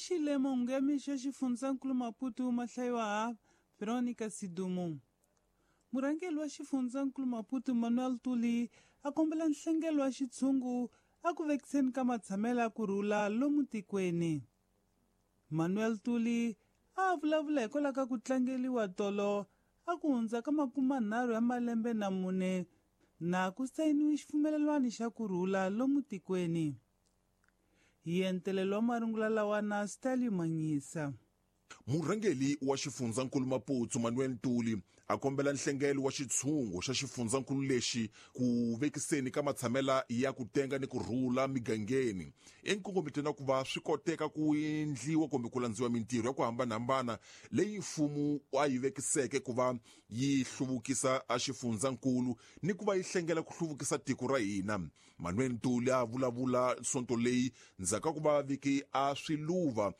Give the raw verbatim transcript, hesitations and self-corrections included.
Mixile mahungu ya mixo ya xifundzankulu Maputo ma hlayiwa ha Veronica Sidumo. Murhangeri wa xifundzankulu Maputo Manuel Tuli a kombela nhlengelo wa xitshungu a ku vekiseni ka matshamelo ya ku rhula lomu tikweni. Manuel Tuli a vulavula hikwalaho ka ku tlangeliwa tolo a ku hundza ka makumanharhu ya malembe na mune na ku sayiniwe xipfumelelwano xa ku rhula lomu tikweni. Hi entelelo wa marungula lawa na Stanley Manyisa. Murhangeri wa xifundzankulu Maputo Manuel Ntuli a kombela nhlengelo wa xitshungu xa xifundzankulu lexi ku vekiseni ka matshamela ya ku tenga ni ku rhula migangeni enkongometweni wa ku va swi koteka ku endliwa kumbe ku landziwa mintirho ya ku hambanahambana leyi mfumo a yi vekiseke ku va yi hluvukisa a xifundzankulu ni ku va yi hlengela ku hluvukisa tiko ra hina. Manuel Ntuli a vulavula sonto leyi ndzhaku ka ku va viki a swiluva.